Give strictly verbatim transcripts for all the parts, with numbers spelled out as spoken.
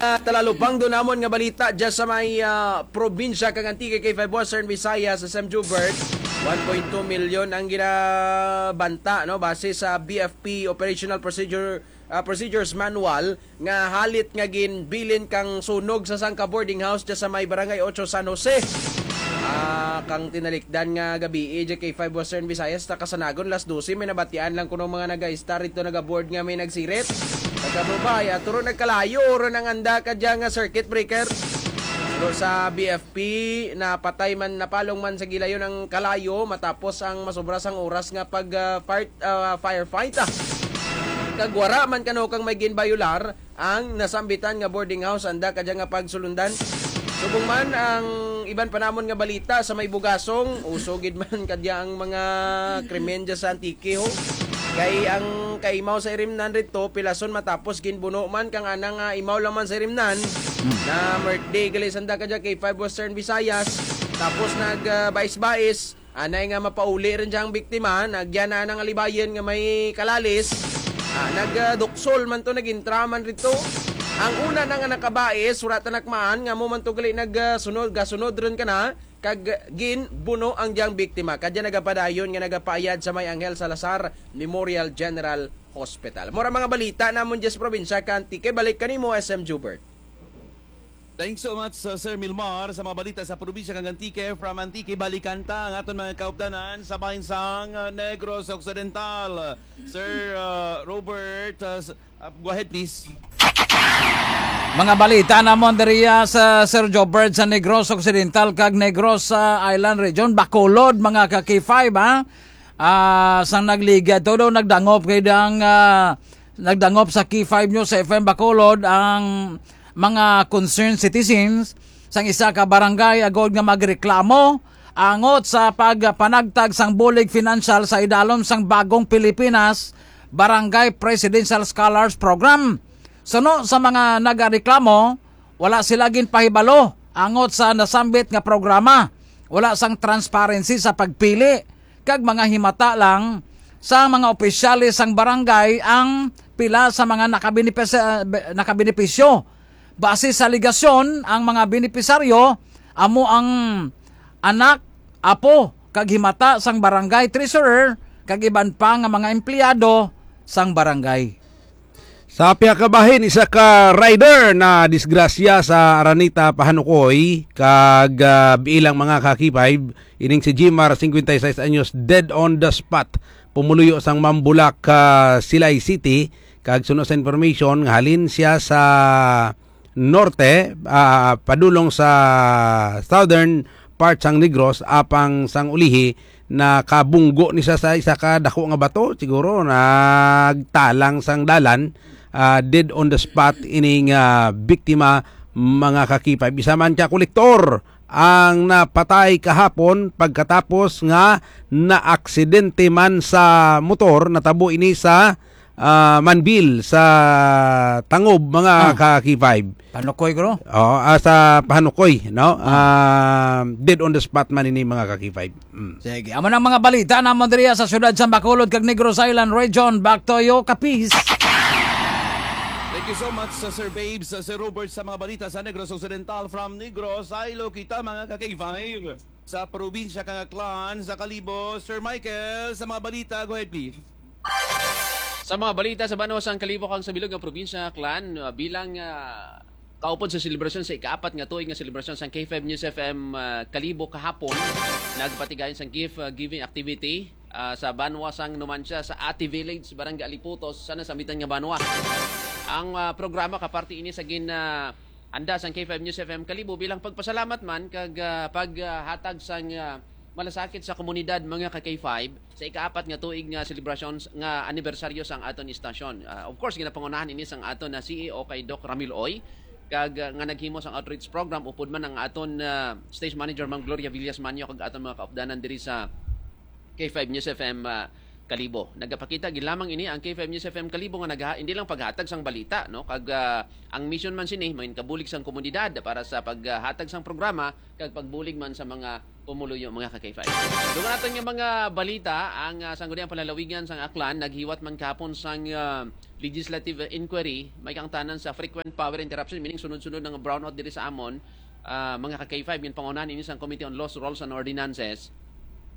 Ah, talalubang do namon nga balita dyan sa may, ah, probinsya kang Antique, K five Western Visayas, sa Sam Jubert. One point two million ang ginabanta, no, base sa B F P Operational Procedure, ah, Procedures Manual, nga halit nga ginbilin kang sunog sa sangka boarding house dyan sa may Barangay Ocho, San Jose. Ah, kang tinalikdan nga gabi, eh, dyan K five Western Visayas, ta kasanagon, las dose, may nabatian lang kuno mga nag-istar dito, nag-aboard nga may nagsirit. Nagkabubay, at turo nagkalayo, ron ang anda ka dyan nga circuit breaker. Pero sa B F P, napatay man, napalong man sa gilayon ang kalayo matapos ang masobra sang oras nga pag, ah, fire, ah, firefight, ah. Kag wara man kano kang may ginbayular ang nasambitan nga boarding house, anda kadya nga pagsulundan. Subong man ang iban pa namon nga balita sa may Bugasong, uso gid man kadya ang mga krimen dya sa Antique, ho. Kay ang kaimaw sa irimnan rito, pilason matapos ginbuno man kang ana nga imaw lang man sa irimnan. Na birthday gali sanda kadya kay five Western Visayas. Tapos nag, ah, bais-bais, anay nga mapauli rin siya ang biktima, nagyan na nga libayan nga may kalalis. Ah, nag, ah, duksol man to, nag-intra man rito. Ang una na nga nakabais, wala ta nakmaan, nga mo man to gali nag, ah, sunod, gasunod rin ka na, kag ginbuno ang diyang biktima. Kadya nagapadayon nga nagapaayad sa may Angel Salazar Memorial General Hospital. Mura mga balita namon dyan sa probinsya ka Antique. Balik kanimo, S M Jubert. Thanks so much, uh, Sir Milmar, sa mga balita sa probinsya kang Antique. From Antique, balikan ta ang aton mga kaupdanan sa bahin sang, uh, Negros Occidental. Sir, uh, Robert, uh, s-, uh, go ahead, please. Mga balita namon diriya sa Sir Jobert sa Negros Occidental kag Negros, uh, Island Region, Bacolod, mga ka K five, ha? Ah, sang nagligad to daw, nagdangop kay dang, ah, nagdangop sa K five News F M Bacolod ang mga concerned citizens sang isa ka barangay agod nga magreklamo angot sa pagpanagtag sang bulig financial sa idalom sang Bagong Pilipinas Barangay Presidential Scholars Program. Suno sa mga nagareklamo, wala sila ginpahibalo angot sa nasambit nga programa. Wala sang transparency sa pagpili kag mga himata lang sa mga opisyales sang barangay ang pila sa mga nakabinipis-, nakabenepisyo. Base sa alegasyon, ang mga benepisaryo amo ang anak, apo, kag himata sang barangay treasurer kag iban pa nga mga empleyado sang barangay. Sa pihak ka bahin, isa ka rider na disgrasya sa Araneta, Pahanukoy, kag, ah, bilang mga ka K five, ining si Jimar, cincuenta y seis anyos, dead on the spot. Pumuluyo sang Mambulak, ah, Silay City, kag suno sa information nga halin siya sa norte, ah, padulong sa southern part sang Negros, apang sang ulihi nakabunggo ni siya sa isa ka dako nga bato, siguro nagtalang sang dalan, ah, dead on the spot ining, ah, biktima, mga ka K five. Isa man ka kolektor ang napatay kahapon pagkatapos nga naaksidente man sa motor. Natabo ini sa, ah, Manbil sa Tangob, mga Ah. ka K five. Panukoy, bro. Oh, ah, sa Pahanukoy, no? Ah, dead on the spot man ini, mga ka K five. Mm. Sige, amo nang mga balita namon diriya sa siyudad sa Bacolod kag Negros Island Region. Back to you, Kapis. Thank you so much, sa Sir Babes, sa Sir Robert, sa mga balita sa Negros Occidental. From Negros, Iloilo kita, mga ka K five. Sa probinsya kang Aklan, sa Kalibo, Sir Michael, sa mga balita, go ahead, please. Sa mga balita sa banwa sang Kalibo kag sa bilog nga probinsya, Aklan, uh, bilang, uh, kaupod sa selebrasyon sa ikaapat nga tuig nga selebrasyon sang K five News F M, uh, Kalibo kahapon, nagpatigayon sang gift, uh, giving activity, uh, sa banwa sang Numancia sa Ati Village, Barangay Aliputos, sa nasambitan nga banwa. Ang, uh, programa kaparte ini sa gin, uh, anda sang K five News F M Kalibo bilang pagpasalamat man kag, ah, paghatag sang, ah, malasakit sa komunidad, mga ka K five, sa ikaapat nga tuig nga selebrasyon s-, nga anibersaryo sang aton istasyon. Ah, of course, ginapangunahan ini sang aton na C E O kay Doc Ramil Oy, kag, ah, nga naghimo sang outreach program, upod man ang aton, ah, station manager, Ma'am Gloria Villas Manyo, kag aton mga kaupdanan diri sa K five News F M, ah, Kalibo. Nagapakita gid lamang ini ang K five News F M Kalibo nga nagha-, hindi lang paghatag sang balita, no? Kag, ah, ang mission man sini, mangin kabulig sang komunidad para sa paghatag sang programa kag pagbulig man sa mga pumuluyo, mga ka-K five. Dugang naton nga mga balita, ang, ah, Sangguniang Panlalawigan sang Aklan naghiwat man kahapon sang, ah, legislative inquiry may kaangtanan sa frequent power interruption, meaning sunod-sunod nga brownout diri sa amon, ah, mga ka-K five, ginpangunahan ini sang Committee on Laws, Rules and Ordinances.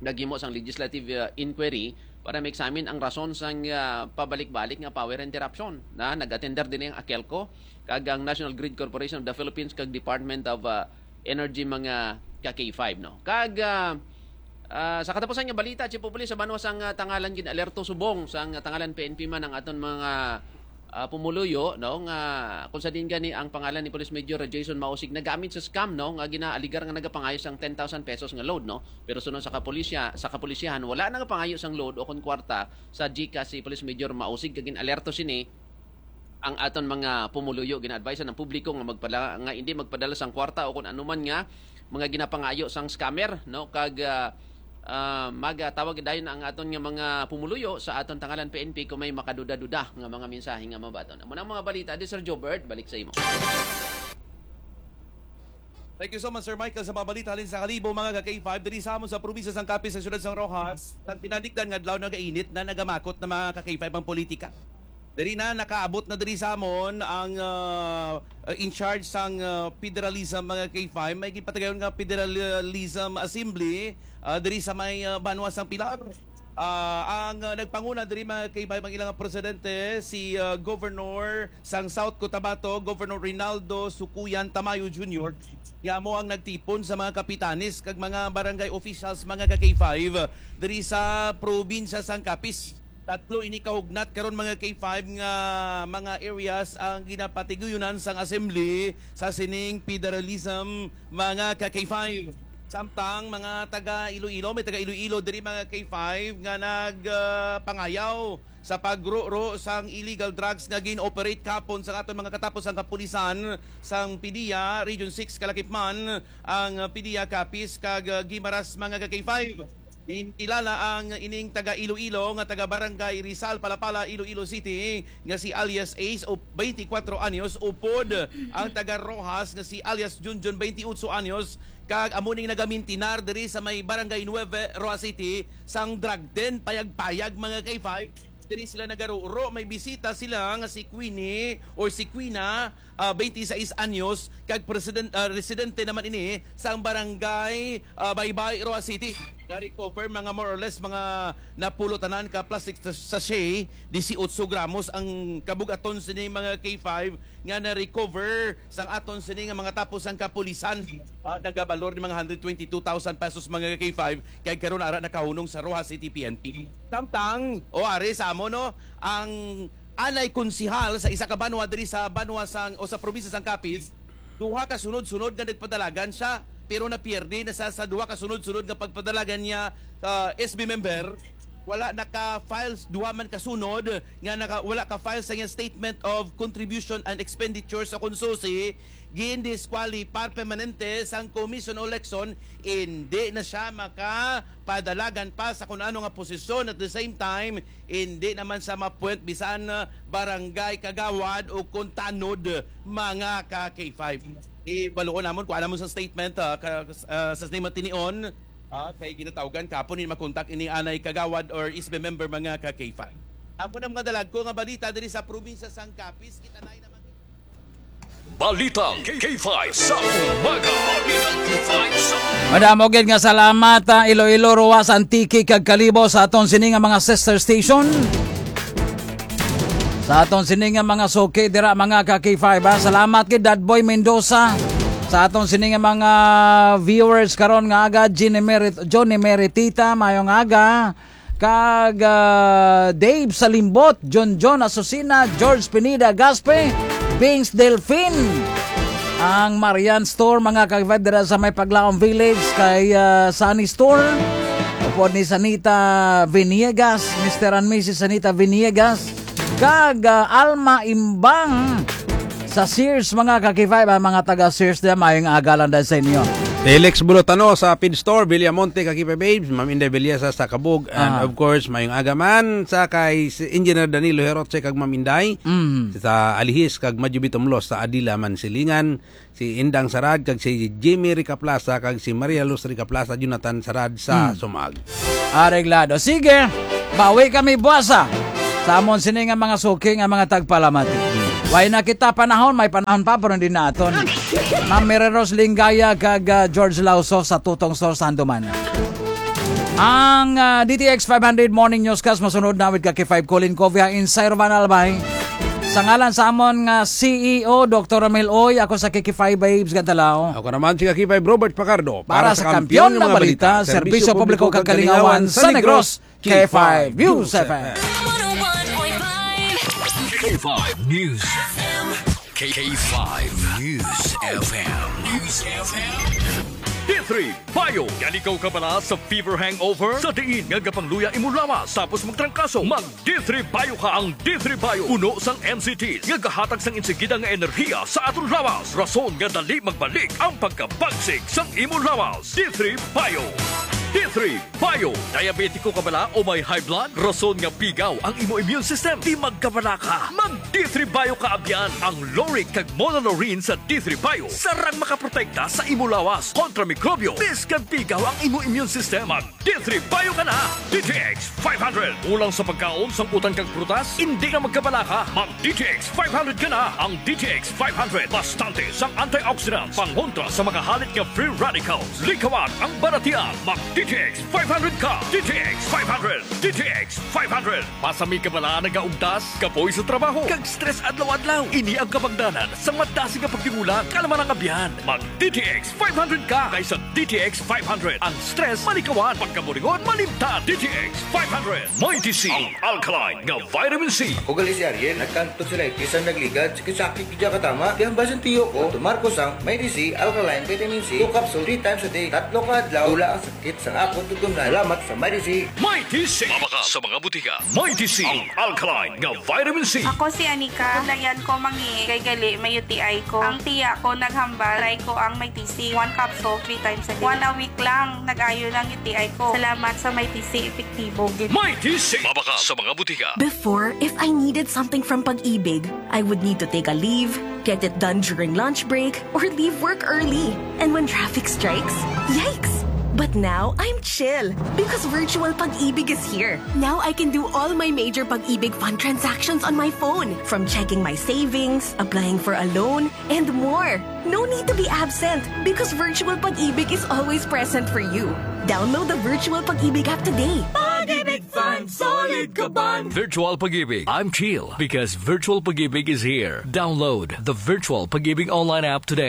Naghimo sang legislative, ah, inquiry para ma-examine ang rason sang, ah, pabalik-balik nga power interruption. Na nag-attender din ang AKELCO kag ang National Grid Corporation of the Philippines kag Department of, ah, Energy, mga ka-K five, no? Kag, ah, ah, sa katapusan nga balita, Chief of Police, sa banwa sang, ah, Tangalan, gin-alerto subong sang, ah, Tangalan P N P man ang aton mga, ah, pumuluyo, no, nga kung sa diin gani ang pangalan ni Police Major Jason Mausig nagamit sa scam, no, nga ginaaligar nga nagapangayo sang ten thousand pesos nga load, no? Pero suno sa kapulisya, sa kapulisyahan, wala nagapangayo sang load o kon kwarta sa GCash si Police Major Mausig, kag gin-alerto sini ang aton mga pumuluyo. Gina-advise ang publiko nga magpadala, nga hindi magpadala sang kwarta o kung anuman nga mga ginapangayo sang scammer, no? Kag, ah, ah, magatawag dayon ang aton nga mga pumuluyo sa aton Tangalan P N P kung may makaduda-duda nga mga mensahe nga mabaton. Amo na ang mga balita. Di, Sir Jobert, balik sa imo. Thank you so much, Sir Michael, sa mga balita halin sa Kalibo, mga ka-K five. Diri sa amon sa probinsya sang Capiz, sa siyudad sang Roxas, nagtinalikdan nga adlaw, nagainit na, nagamakot na, mga ka-K five, ang politika. Diri na, nakaabot na diri sa amon ang, ah, in charge sang, ah, federalism, mga K five. May gipatigayon nga Federalism Assembly, ah, diri sa may, ah, banwa sang Pilar. Ah, ang, ah, nagpanguna diri, mga K five, ang ilang presidente, si, ah, Governor sang South Cotabato, Governor Rinaldo Sukuyan Tamayo Junior, nga amo ang nagtipon sa mga kapitanes kag mga barangay officials, mga ka-K five, diri sa probinsya sang Capiz. Tatlo ini kahugnat karon, mga K five, nga mga areas ang ginapatiguyunan sang assembly sa sining federalism, mga ka-K five. Samtang mga taga Iloilo, may taga Iloilo diri, mga K five, nga nag, ah, pangayaw sa pagro-ro sang illegal drugs nga gin-operate kahapon sa aton mga katapos ang kapulisan sang PDEA Region six, kalakip man ang PDEA Capiz kag, ah, Guimaras, mga ka-K five. Ginkilala ang ining taga Iloilo nga taga Barangay Rizal, Palapala, Iloilo City, nga si alias Ace, o twenty-four anyos, upod ang taga Roxas nga si alias Junjun, twenty-eight anyos, kag amo ning nagamintinar diri sa may Barangay Nueve, Roxas City, sang drug den, payag-payag, mga K five. Diri sila nagaruro, may bisita sila nga si Queenie or si Quina, ah, twenty-six anyos, kag president, ah, residente naman ini sang barangay, ah, Baybay, Roxas City. Na-recover mga more or less mga napulo tanan ka plastic sa-, sachet, dieciocho gramos ang kabug-aton sini, mga K five, nga na-recover sang aton sini nga mga tapos ang kapulisan. Ah, nagabalor ni mga hundred twenty-two thousand pesos, mga K five, kay karon ara nakahunong sa Roxas City P N P. Samtang, o ari sa amo, no, ang anay konsihal sa isa ka banwa diri sa banwa sang, o sa probinsya sang Capiz, duha ka sunod-sunod nga nagpadalagan siya, pero napierde na sa, sa duha ka sunod-sunod nga pagpadalagan niya, ah, S B member. Wala naka-file duha man ka sunod nga naka, wala ka-file sa iyang statement of contribution and expenditure sa konsusi, gindisqualify permanente sang Commission on Election, hindi na siya makapadalagan pa sa kun ano nga posisyon. At the same time, hindi naman sa ma-appoint bisan, ah, barangay kagawad o kon tanod, mga ka K five. Ibaluon namon, kuha namon sa statement, ah, ka, ah, sa statement tinion, ah, kay ginatawgan kapon ni makontak ini anay kagawad or S B member, mga ka K five. Ako na mga dalagko nga balita diri sa probinsya sang Capiz, kita na naman. Balitang K five sa umaga. Balitang K five sa umaga. Madamo gid nga salamat, ah, Iloilo, Roxas, Antique, kag Kalibo sa aton sini nga mga sister station. Sa aton sini nga mga suki dira, mga ka K five, ha. Salamat kay Dadboy Mendoza. Sa aton sini nga mga viewers karon nga aga, Johnny Merit-, Johnny Meritita, mayong aga. Kag, ah, Dave Salimbot, John John Asusina, George Pineda Gaspe, Bings Delfin, ang Marian Store, mga ka-K five, dira sa may Paglaom Village, kay, ah, Sunny Store, upod ni Sanita Veniegas, Mister and Missus Sanita Veniegas, kag, ah, Alma Imbang sa Sears, mga ka-K five, ang mga taga Sears dira, mayong aga lang dahil sa inyo. Felix Bulutano sa Feed Store, Villamonte, Kakipa Babes, Ma'am Inday Villesa sa Kabug, and Ah. of course, mayong aga man sa kay si Engineer Danilo Heroche kag Ma'am Inday Mm. sa Alihis kag Madyo Bitumlos sa Adila, Mansilingan, si Indang Sarad kag si Jimmy Ricaplaza kag si Maria Luz Ricaplaza, Jonathan Sarad sa Mm. Sumag. Areglado. Sige, bawi kami buwasa sa amon sini nga mga suki nga mga tagpalamati. Way na kita panahon, may panahon pa, pero hindi naton. Ma'am Mira Rose Lingaya kag, ah, George Lauso sa Tutong Store sa Handumanan. Ang, ah, D T X five hundred Morning Newscast masunod na with Kaki five Colin Covia in Sir Van Albay. Sa ngalan sa amon nga C E O, Doctor Ramil Oy, ako sa Kiki five Babes Gadalaw. Ako naman si Kaki five Robert Pacardo. Para sa kampiyon nga balita, serbisyo publiko kag kalingawan sa Negros, K five News F M. K five News F M. K five News F M. News F M. D three Bio. Yan ikaw kabala sa fever hangover? Sa diin nga gapangluya imo lawas tapos magtrangkaso, mag D three Bio ka. Ang D three Bio puno sang N C Ts nga gahatag sang insigida nga enerhiya sa aton lawas, rason nga dali magbalik ang pagkabagsik sang imo lawas. D three Bio. D three Bio. Diabetiko ka bala o may high blood? Rason nga pigaw ang imo immune system? Di magkabala ka. Mag D three Bio ka abyan. Ang lauric kag monolaurin sa D three Bio sarang makaprotekta sa imo lawas kontra mikrobyo. Biskang pigaw ang imo immune system, mag D three Bio ka na. D T X five hundred. Kulang sa pagkaon, sangkutan kag prutas? Hindi na magkabala ka. Mag D T X five hundred ka na. Ang D T X five hundred, bastante sang antioxidants, pangontra sa mga halit nga free radicals. Likawan ang balatian. Mag D T X five hundred ka. D T X five hundred. D T X five hundred. Pasami ka bala nagaugtas, kapoy sa trabaho, kag stress adlaw-adlaw? Ini ang kabangdanan sa madasig nga pagtigulang. Kalma lang abyan. Mag D T X five hundred ka kaysa D T X five hundred. Ang stress malikawan, pagkaburingon malimtan. D T X five hundred. Mighty C, ang alkaline nga vitamin C. Ako gali si Ariel, nagkantog sila, bisan nagligad, sakit-sakit, di ka tama. Kaya ang basin tiyo ko, tumar ko sang Mighty C, alkaline vitamin C, two capsule, three times a day, tatlo ka adlaw, wala ang sakit sang akon tutumnan. Salamat sa Mighty C. Mighty C. Mabakal sa mga butika. Mighty C, ang alkaline nga vitamin C. Ako si Anika. Layan ko mangi kay gali may U T I ko. Ang tiya ko naghambal, try ko ang Mighty C. One capsule, three times a day. One a week lang, nag-ayo na ang U T I ko. Salamat sa Mighty C, epektibo gid. Mighty C. Mabakal sa mga butika. Before, if I needed something from Pag-ibig, I would need to take a leave, get it done during lunch break, or leave work early. And when traffic strikes, yikes! But now, I'm chill because Virtual Pag-ibig is here. Now I can do all my major Pag-ibig Fund transactions on my phone, from checking my savings, applying for a loan, and more. No need to be absent because Virtual Pag-ibig is always present for you. Download the Virtual Pag-ibig app today. Pag-ibig Fund, solid ka bond. Virtual Pag-ibig, I'm chill because Virtual Pag-ibig is here. Download the Virtual Pag-ibig online app today.